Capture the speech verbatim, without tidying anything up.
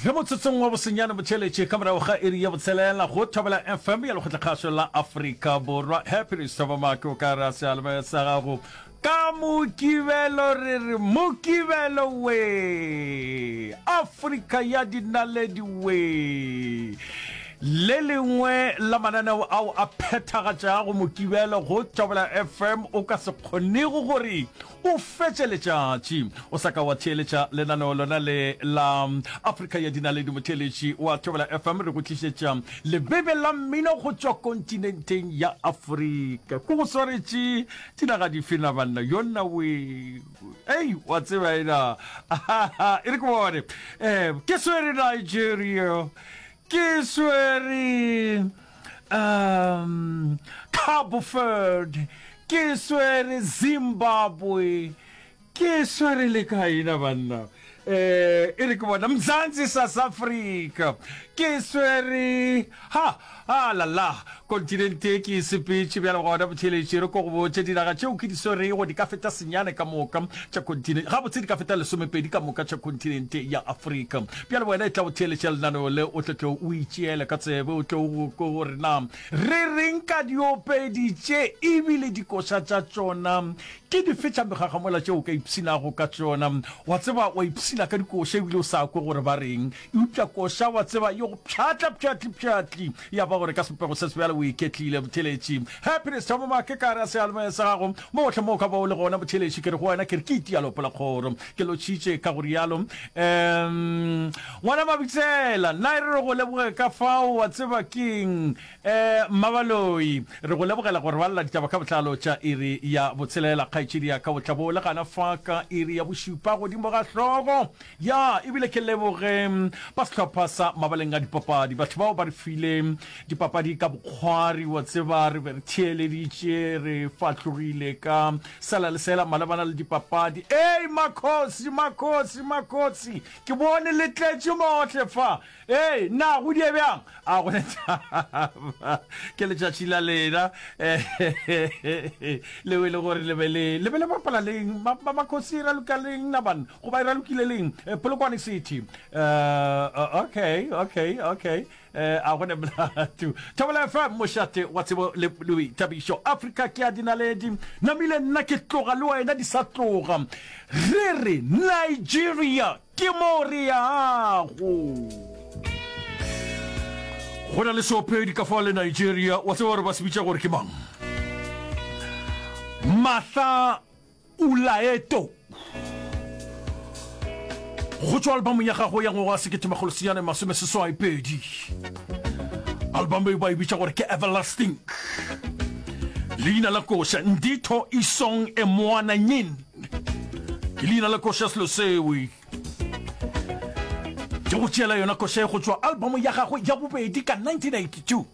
Re motsotsong wa bosenyane botšheletše ka morago ga iri ya botshelela go Thobela F M ya Lekgotlakgašo la Afrika Borwa. Happiness Thobamake o ka re a seyalemoya sa gago ka Mokibelo, re re Mokibelo we, Afrika ya dinaledi we. Le lengwe la mananeo ao a phethagatšago Mokibelo go Thobela F M o ka se kgonego gore o fetše letšatši o sa ka wa theeletša lenaneo lona le la Afrika ya Dinaledi. Motheeletši wa Thobela F M, re go tlišetša lebebe la mmino go tšwa kontinenteng ya Afrika. Ko go swaretše dinaga dife na banna? Yonna we, ei, wa tseba ena, e re ke bone. um ke swere Nigeria, ke swere um Cabo Verde, ke swere Zimbabwe, ke swere le kaena banna? eh e re ke bona Mzansi, South Africa, ke swere ha a la la kontinente ke e sepetše bjale. Gona botheletše re ko go botše dinaga tšeo ke di swerego di ka feta senyane ka moka tša kontinente, gabotse di ka feta lesomepedi ka moka tša kontinente ya Afrika. Bjale wena e tla go theeletša lenaneo le, o tlo tlo o itšeele ka tsebe, o tlo go ko gore na re reng ka diopedi tše, ebile dikoša tša tšona ke dife tša megagamola tšeo o ka ipshinago ka tšona. Wa tseba, wa ipshina ka dikoša ebile o sa kwe gore ba reng, eupša koša wa tseba e go pšhatla pšhatli pšhatli, ya ba gore ka sebopego se sebjalo o iketlile. Botheletši Happiness Thoma Make ka re a seyalemoya sa gago mo gohle mo o ka ba o le gona. Botheletši, ke re go wena, ke re ke itialo polakgoro, ke lotšhitše ka go rialo. um ngwana Mabitsela, nna e re re go leboge ka fao. Wa tseba keng, um Mmabaloi, re go lebogela gore balela ditaba ka botlalo tša iri ya botshelela. Kgaetšedi ya ka o tla bo le gana fa ka iri ya bošupa godimo ga hlogo ya. Ebile ke leboge ba sehlopha sa mabaleng a dipapadi, batho bao ba re file dipapadi ka bokgwari. Wa tseba, re be re theeleditše, re fahlogile ka sela le sela malebana le dipapadi. Ei, makgosi, makgosi, makgosi, ke bone le tletše mohle fa. Ei, na go die bjang? A go ne taba, ke letšatši la lena leo e le gore le be le le be le bapala leng? Makgosi, e raloka leng na banna, goba e ralokile leng? Polokwane City. uh, okay okay okay eh a go ne molato. Thobela F M, mošate wa tsebo le boithabišo. Afrika ke ya dinaledi, namile nna ke tloga le wena di sa tloga. Re re Nigeria ke mo re yago. Go na le seopedi ka fa le Nigeria, wa tseba gore ba se bitša gore ke mang? Mahla Ulaeto, go tšwa albamong ya gagwe ya ngwaga wa sekete makgolo senyane masome seswai pedi. Album e ba e bitša gore ke Everlasting. Leina la koša Nditho Isong Emwananyin ke leina la koša selo seo. Ke go tšeela yona koša e go tšwa album ya gagwe ya bobedi ka nineteen eighty-two.